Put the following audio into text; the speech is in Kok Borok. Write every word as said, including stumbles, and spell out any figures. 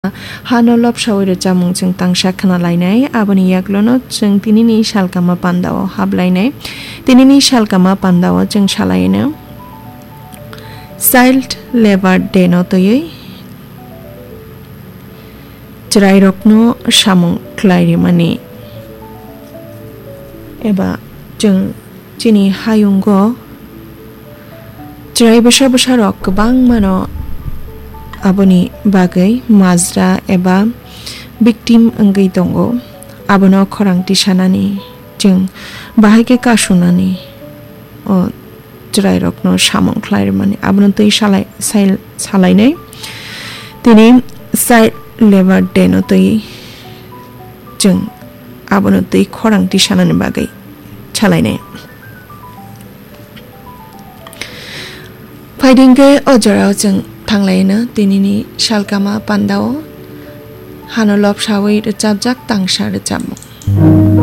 hano lobsawi rwchapmung chwng tangsa khna lainai. Aboni yaklono chwng tinini salkama pandao hap lainai. Tinini salkama pandao chwng salaino Child Labour Day no twiwi chwrairokno samung khlai rimani eba chwng chini hayungo chwrai bwsa bwsarok kwbangmano aboni bagwi majra eba victim wngwi tongo. Abono khorang tisanani chwng bahai khe kasunani o chwrairokno samung khlai rwmani abono twi salai-, sai-, salainai. Tini Child Labour Day no twi chwng abono twi khorang tisanani bagwi salainai. Phaidi hwnkhe o jorao chwng thanglaino tinini salkama pandao hano lobsawi rwchapjak tangsa rwchapmung.